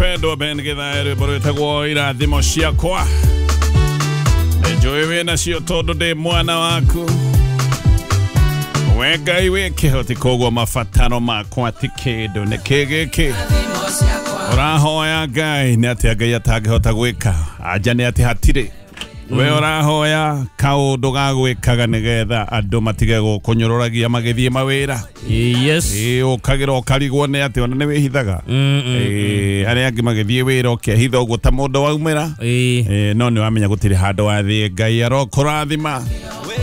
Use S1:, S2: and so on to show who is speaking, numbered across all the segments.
S1: Mpendwa Ben Githae, rwĩmbo rwĩtagwo irathimo ciakwa. Njũĩ wĩnacio tondũ ndĩ mwana waku. We Ngai wĩ kĩhoti, koguo mabataro makwa ti kĩndũ. Nĩ kĩ gĩkĩ ũrahoya Ngai? Nĩ atĩa Ngai atangĩhota gwĩka? Anja nĩ atĩ hatirĩ. We ũrahoya kaũndũ ga gwĩkaga nĩgetha andũ matige gũkũnyũrũragia magĩthiĩ mawĩra.
S2: Yes.
S1: Ĩĩ, ũkagĩra ũkarigwo nĩ atĩ ona nĩ wĩhithaga. Ĩĩ, arĩa angĩ magĩthiĩ wĩra ũkehitha ũguo ta mũndũ waumĩra.
S2: Ĩĩ.
S1: Ĩĩ, no nĩ wamenya gũtirĩ handũ wathiĩ Ngai arokũrathima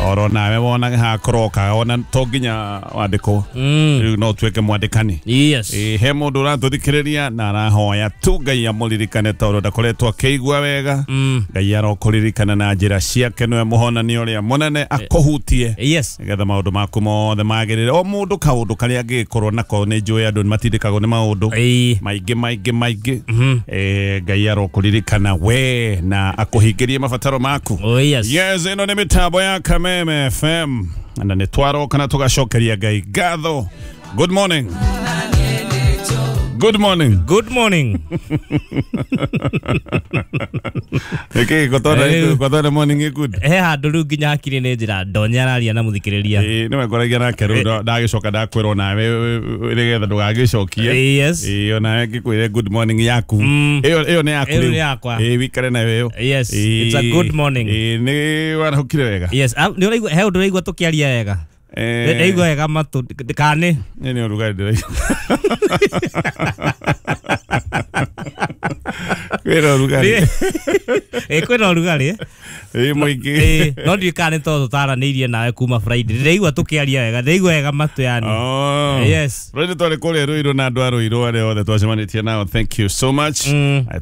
S1: oro nawe wona hakũroka ona to nginya wandĩkwo. Rĩu no ũtuĩke mwandĩkani.
S2: Yes.
S1: Ĩĩ, he mũndũ ũratũthikĩrĩria na arahoya tu Ngai amũririkane tondũ ndakoretwo akĩigua wega. Ngai arokũririkana na njĩra ciake, nĩwe mũhonania ũrĩa mũnene, akũhutie
S2: Yes.
S1: nĩgetha maũndũ maku mothe magĩrĩre. O mũndũ kaũndũ karĩa angĩgĩkorwo nako, nĩ njũĩ andũ nĩ matindĩkagwo nĩ maũndũ
S2: Ĩĩ.
S1: maingĩ maingĩ maingĩ. Ngai arokũririkana we na akũhingĩrie mabataro maku.
S2: Oh yes.
S1: Yes, ĩno nĩ mĩtambo ya Kameme FM na nĩ twaroka na tũgacokeria Ngai ngatho. Good morning. Good morning.
S2: Good morning.
S1: Nĩkĩ gũtonda gũtonda morning ĩ good?
S2: He handũ rĩu nginya hakiri nĩ njĩra ndonya araria na mũthikĩrĩria.
S1: Ĩĩ, nĩwe ngoragia nake rĩu ndagĩcoka ndakwĩrwo nawe nĩgetha ndũgagĩcokie.
S2: Yes.
S1: Ĩĩ, onawe ngĩkwĩre good morning yaku. Ĩyo ĩyo nĩ yaku
S2: Ĩyo
S1: rĩu.
S2: nĩ yakwa.
S1: Ĩĩ, wĩikare nayo ĩyo.
S2: Yes. It's a good morning.
S1: Ĩĩ, nĩ warahũkire wega.
S2: Yes. Ah, nĩ ũraigua he ũndũ ũraigua tũkĩaria wega. Ndaigua wega matũ kana
S1: Nĩ nĩ ũrugarĩ ndĩraigua. Kwĩna ũrugarĩ.
S2: Ĩ, kwĩna ũrugarĩ.
S1: Ĩĩ, mũingĩ.
S2: Ĩ, no ndiũĩ kana nĩ tondũ tũtaranĩirie nawe kuma Friday. Ndĩraigua tũkĩaria wega, ndĩraigua wega matũ yani.
S1: Oh.
S2: Yes.
S1: Rĩu twarĩ kũrĩa Ruiru na andũ a Ruiru arĩa othe twacemanĩtie nao, thank you so much.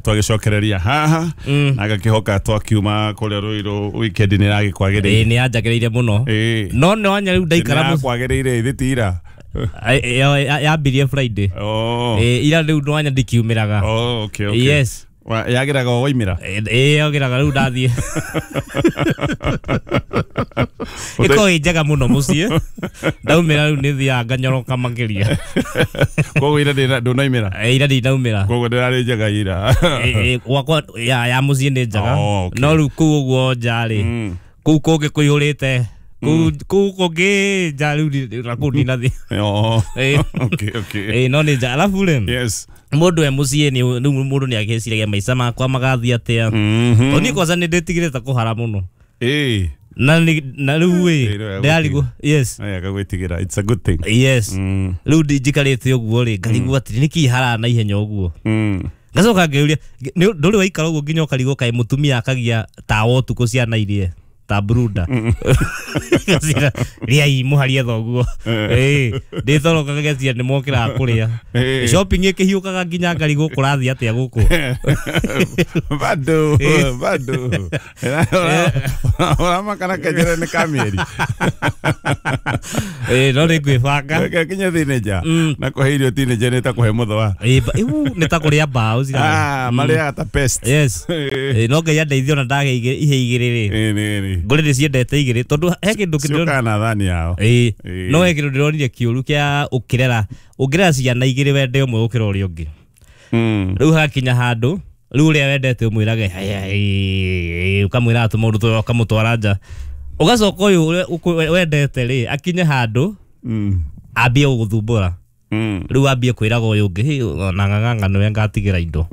S1: Twagĩcokereria haha na ngakĩhoka twakiuma kũrĩa Ruiru weekend nĩ
S2: Ĩ,
S1: ĩragĩkwagĩrĩire.
S2: nĩ yanjagĩrĩire mũno.
S1: Ĩĩ.
S2: No nĩ wanya rĩu ndaikara
S1: Nĩ
S2: mũciĩ.
S1: yakwagĩrĩire ithĩ ti ira?
S2: Yambirie Friday.
S1: Oh.
S2: Ĩ, ira rĩu nĩ wanya ndikiumĩraga.
S1: Oh, okay, okay.
S2: Yes.
S1: Yagĩraga o waimĩra?
S2: Ĩ, yagĩraga rĩu ndathiĩ. Ĩkoragwo ĩ njega mũno mũciĩ. Ndaumĩra rĩu nĩ thiaga nganyoroka makĩria.
S1: Koguo ira ndũnaimĩra?
S2: Ĩ, ira ndinaumĩra.
S1: Koguo ndĩrarĩ njega ira?
S2: Ĩ, ĩ, gwakwa ya mũciĩ nĩ njega.
S1: Oh, okay.
S2: No rĩu kũu ũguo nja rĩ, kũu kũngĩ kũihũrĩte kũu kũu kũngĩ nja rĩu na kũu ndinathiĩ.
S1: Oh.
S2: Ĩ.
S1: Okay.
S2: Ĩ, no nĩ nja alafu rĩ,
S1: Yes.
S2: mũndũ e mũciĩ nĩ rĩu mũndũ nĩ agĩciragia maica makwa magathiĩ atĩa. Tondũ niĩ kwanza nĩ ndĩtigĩrĩte kũhara mũno.
S1: Ĩĩ.
S2: Na na rĩu
S1: Ĩ,
S2: ĩ,
S1: rĩu
S2: ndĩrarigwo. Yes.
S1: Aya gagwĩtigĩra. It's a good thing.
S2: Yes. Rĩu njikarĩte ũguo rĩ, ngarigwo atĩrĩ nĩkĩ haraga na ihenya ũguo. Ngacoka ngeyũria, ndũrĩ waikara ũguo nginya ũkarigwo kaĩ mũtumia akagia tawa ũtukũ ciana irie ta brunda. Ngaciĩra, rĩai mũharie thoguo. Ĩĩ, ndĩtoroka ngagecia nĩ mokĩraga kũrĩa.
S1: Ĩĩ.
S2: Shopping ĩkĩhiũkaga nginya ngarigwo kũrathiĩ atĩa gũkũ.
S1: Bado, bado. Ũramakana kenjere nĩ kamĩeri.
S2: Ĩĩ, no nĩ ngwĩbanga.
S1: Reke kinya teenager. Na kũhe irio teenager nĩ ta kũhe mũthũa.
S2: Ĩĩ, iu, nĩ ta kũrĩa mbaũ
S1: Ah, marĩaga ta pest.
S2: Yes.
S1: Ĩĩ,
S2: Ĩĩ, no Ngai andeithie ona ndage ihe igĩrĩ rĩ.
S1: ĩĩ, nĩ, nĩ.
S2: Ngũrĩ nĩ ciendete igĩrĩ tondũ he kĩndũ kĩndĩrona.
S1: Ciũkaga na thani yao.
S2: Ĩĩ.
S1: Ĩĩ.
S2: No he kĩndũ ndĩronire kĩũru kĩa ũkĩrera ũngĩrera ciana igĩrĩ wende ũmwe gũkĩra ũrĩa ũngĩ. Rĩu hakinya handũ rĩu ũrĩa wendete ũmwĩrage "Haya, ĩĩ," ũkamwĩra tũmaũndũ tũrĩa ũkamũtwara nja, ũgacoka ũyũ ũrĩa wendete rĩ akinye handũ ambie gũgũthumbũra. Rĩu ambie kwĩraga ũyũ ũngĩ, "Hĩ, ona ng'ang'ang'a nĩwe ngatigĩra indo."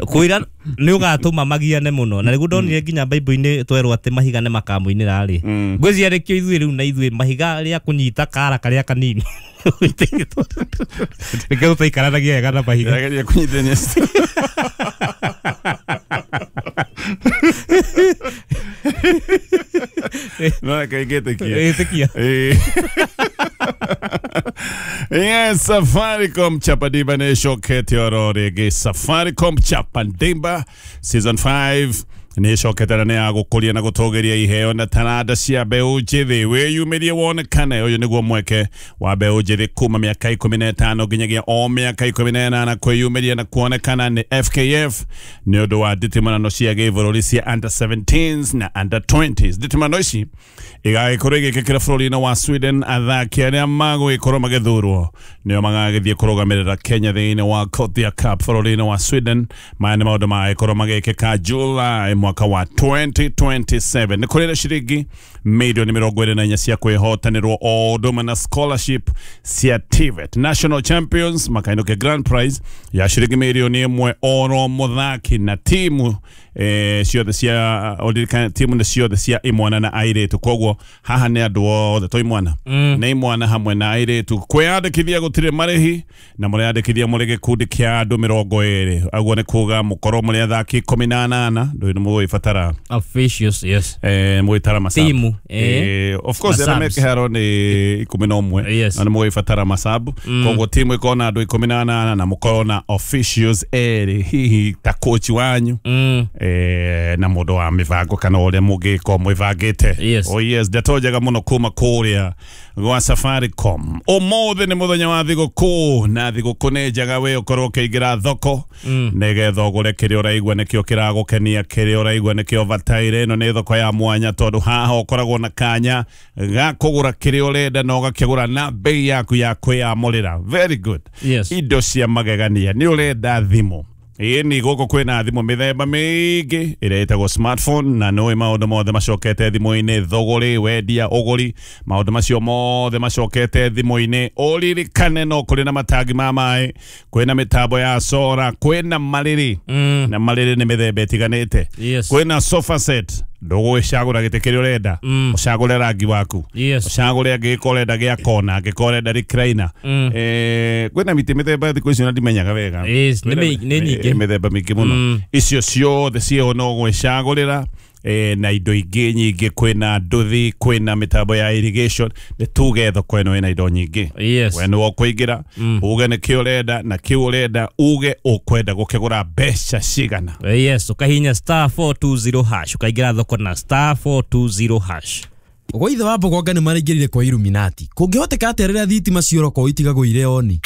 S2: Kwĩra nĩ ũgatũma magiane mũno, na nĩguo ndonire nginya Bible-inĩ twerwo atĩ mahiga nĩ makamũinĩra rĩ. Ngwĩciria nĩkĩo ithuĩ rĩu na ithuĩ mahiga rĩa kũnyita kara karĩa kanini nĩkĩo tũtaikaranagia wega na mahiga.
S1: Ndĩrageria kũnyitithania. No reke ngĩtĩkie.
S2: Ĩtĩkia.
S1: Ĩĩ. Yes, Safaricom Chapadimba nĩ ĩcokete oro rĩngĩ. Safaricom Chapadimba season 5 Nĩ ĩcokete na nĩ ya gũkũria na gũtũgĩria iheo na taranda cia mbeũ njĩthĩ. Wĩyumĩrie wonekane, ũyũ nĩguo mweke wa mbeũ njĩthĩ kuma mĩaka 15 nginyagia o mĩaka 18 kwĩyumĩria na kuonekana nĩ FKF nĩ ũndũ wa nditimũrano cia gĩbũrũri cia under 17s na under 20s. Nditimũrano ici igagĩkorwo igĩkĩkĩra bũrũri-inĩ wa Sweden. Athaki arĩa magũgĩkorwo magĩthurwo nĩo magagĩthiĩ kũrũgamĩrĩra Kenya thĩinĩ wa Gothia Cup bũrũri-inĩ wa Sweden. Maya nĩ maũndũ magagĩkorwo magĩkĩka July mwaka wa 2027. Nĩ kũrĩ na ciringi milioni 24 cia kwĩhotanĩrwo o ũndũ ũmwe na scholarship cia TVET. National champions makainũkia grand prize ya ciringi milioni 1 oro mũthaki na timu ciothe cia ũririkane timu nĩ ciothe cia imwana na airĩtu. Koguo haha nĩ andũ othe to imwana nĩ imwana hamwe na airĩtu. Kwĩyandĩkithia gũtirĩ marĩhi na mũreyandĩkithia mũrĩ gĩkundi kĩa andũ 20. Aguo nĩ kuga mũkorwo mũrĩ athaki 18 ndũĩ nĩ mũgũgĩbatara
S2: officials, yes.
S1: Mũgĩtara masabu
S2: timu
S1: of course arĩa me kĩharo nĩ 11
S2: yes.
S1: Na nĩ mũgũgĩbatara masabu. Koguo timu ĩkorwo na andũ 18 na mũkorwo na officials erĩ, hihi ta coach wanyu na mũndũ wa mĩbango kana ũrĩa mũngĩkorwo mwĩbangĩte.
S2: Yes.
S1: Oh yes, ndeto njega mũno kuma kũrĩa gwa Safaricom. Ũmũthĩ nĩ mũthenya wa thigũkũ na thigũkũ nĩ njega we ũkorwo ũkĩingĩra thoko nĩgetha ũgũre kĩrĩa ũraigua nĩkĩo kĩragũkenia, kĩrĩa ũraigua nĩkĩo bataire. Ĩno nĩ thoko ya mwanya tondũ haha ũkoragwo na kanya ga kũgũra kĩrĩa ũrenda na ũgakĩgũra na bei yaku ya kwĩyamũrĩra. Very good.
S2: Yes.
S1: Indo cia magegania. Nĩ ũrenda thimũ? Ĩni gũkũ kwĩna thimũ mĩthemba mĩingĩ ĩrĩa ĩtagwo smartphone na nĩũĩ maũndũ mothe macokete thimũ-inĩ, thũgũrĩ, wendia, ũgũri, maũndũ macio mothe macokete thimũ-inĩ. Ũririkane no kũrĩ na matangi ma maĩ, kwĩna mĩtambo ya sora, kwĩna marĩrĩ na marĩrĩ nĩ mĩthemba ĩtiganĩte.
S2: Yes.
S1: Kwĩna sofa set, ndũgũgĩcagũra gĩtĩ kĩrĩa ũrenda, ũcagũre rangi waku,
S2: Yes.
S1: ũcagũre angĩgĩkorwo ũrenda gĩa kona, angĩkorwo ũrenda recliner. Kwĩna mĩtĩ mĩthemba thikũ ici na ndimenyaga wega.
S2: Yes, nĩ nyingĩ.
S1: Mĩthemba mĩingĩ mũno. Icio ciothe ciĩho no gwĩcagũrĩra na indo ingĩ nyingĩ. Kwĩna nduthi, kwĩna mĩtambo ya irrigation. Nĩ tuge thoko ĩno ĩna indo nyingĩ.
S2: Yes.
S1: We nĩwe ũkũingĩra uge nĩkĩ ũrenda na kĩu ũrenda uge ũkwenda gũkĩgũra mbeca cigana.
S2: Yes, ũkahihinya star 420 hash ũkaingĩra thoko na star 420 hash.
S3: Gwa ithe wa Mbogonga nĩ maraingĩrire kwa Illuminati. Kũngĩhoteka atĩa rĩrĩa thitima ciora itigagwo irĩ oni?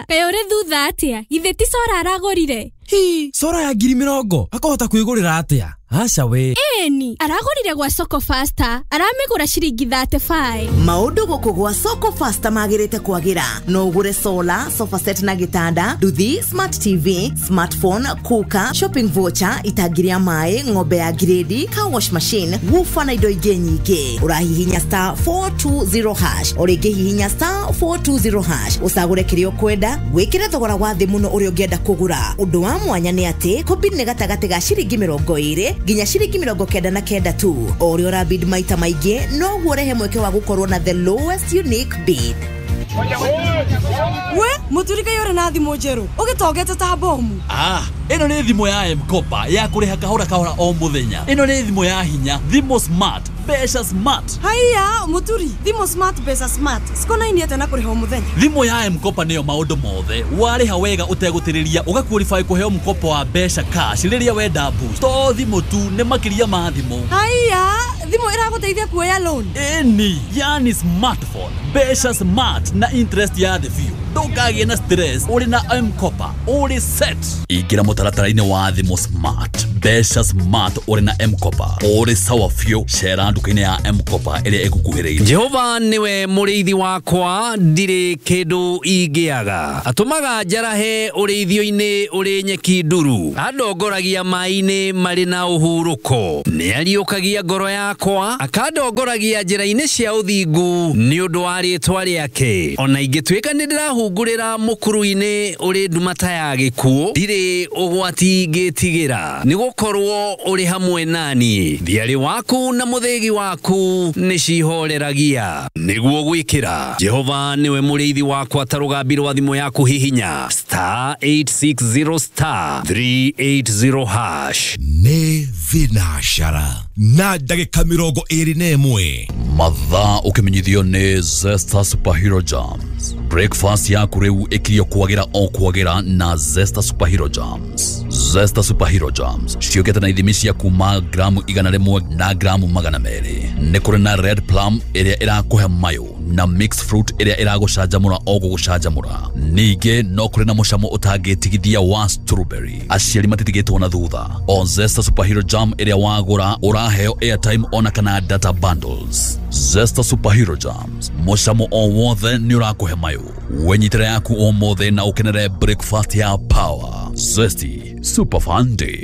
S4: Kaĩ ũrĩ thutha atĩa? Githĩ ti cora aragũrire?
S3: Hi, cora ya 20,000 akahota kwĩgũrĩra atĩa? Aca we.
S4: Ĩni, aragũrire gwa Soko Faster, aramĩgũra ciringi 35.
S5: Maũndũ gũkũ gwa Soko Faster magĩrĩte kwagĩra. No ũgũre solar, sofa set na gĩtanda, nduthi, smart TV, smartphone, cooker, shopping voucher, itangi rĩa maĩ, ng'ombe ya grade, car wash machine, woofer na indo ingĩ nyingĩ. Ũrahihinya star 420 hash, o rĩngĩ hihinya star 420 hash, ũcagũre kĩrĩa ũkwenda, wĩkĩre thogora wa thĩ mũno ũrĩa ũngĩenda kũgũra. Ũndũ wa mwanya nĩ atĩ kũbid nĩ gatagatĩ ga ciringi 20 nginya ciringi 99 tu. O ũrĩa ũrabid maita maingĩ noguo ũrehe mweke wa gũkorwo na the lowest unique bid.
S6: We mũturi kaĩ ũrĩ na thimũ njerũ ũgĩtongete ta bomu.
S7: Ĩno nĩ thimũ ya M-Kopa ya kũrĩha kahora kahora o mũthenya. Ĩno nĩ thimũ ya hinya, thimũ smart, mbeca smart.
S6: Haiya mũturi, thimũ smart mbeca smart cikonainie atĩa na kũrĩha o mũthenya?
S7: Thimũ ya M-Kopa nĩyo maũndũ mothe. Warĩha wega ũtegũtĩrĩria ũgaqualify kũheo mkopo wa mbeca cash rĩrĩa wenda boost. To thimũ tu, nĩ makĩria ma thimũ.
S6: Haiya, thimũ ĩragũteithia kuoya loan?
S7: Ĩni, yani smartphone, mbeca smart na interest ya thĩ biũ. Ndũkagĩe na stress, ũrĩ na M-Kopa, ũrĩ set. Ingĩra mũtaratara-inĩ wa thimũ smart, mbeca smart ũrĩ na M-Kopa, ũrĩ sawa biũ. Cera nduka-inĩ ya M-Kopa ĩrĩa ĩgũkuhĩrĩirie.
S8: Jehova nĩwe mũrĩithi wakwa, ndirĩ kĩndũ ingĩaga. Atũmaga njarahe ũrĩithio-inĩ ũrĩ nyeki nduru, andongoragia maĩ-inĩ marĩ na ũhurũko. Nĩariũkagia ngoro yakwa, akandongoragia njĩra-inĩ cia ũthingu nĩ ũndũ wa rĩĩtwa rĩake. Ona ingĩtuĩka nĩ ndĩrahungurĩra mũkuru-inĩ ũrĩ nduma ta ya gĩkuũ, ndirĩ ũgwati ingĩtigĩra, nĩgũkorwo ũrĩ hamwe nani. Thiarĩ waku na mũthĩgi waku nĩcihoreragia. Nĩguo gwĩkĩra Jehova nĩwe mũrĩithi wakwa ta rũgambi rwa thimũ yaku, hihinya star 860 star 380 hash.
S3: Nĩ
S9: Thinacara na ndagĩka 21.
S7: Mathaa ũkĩmenyithio nĩ Zesta Superhero Jams. Breakfast yaku rĩu ĩkirio kwagĩra o kwagĩra na Zesta Superhero Jams. Zesta Superhero Jams ciũkĩte na ithimi cia kuma gramu 100 na gramu 200. Nĩ kũrĩ na red plum ĩrĩa ĩrakũhe mayũ na mixed fruit ĩrĩa ĩragũcanjamũra o gũgũcanjamũra. Ningĩ no kũrĩ na mũcamo ũtangĩtigithia wa strawberry. Aciari matitigĩtwo na thutha. O Zesta Superhero Jam ĩrĩa wagũra ũraheo airtime ona kana data bundles. Zesta Superhero Jams, mũcamo o wothe nĩ ũrakũhe mayũ. Wenyitĩra yaku ũmũthĩ na ũkenere breakfast ya power. Zesty Super Fun Day.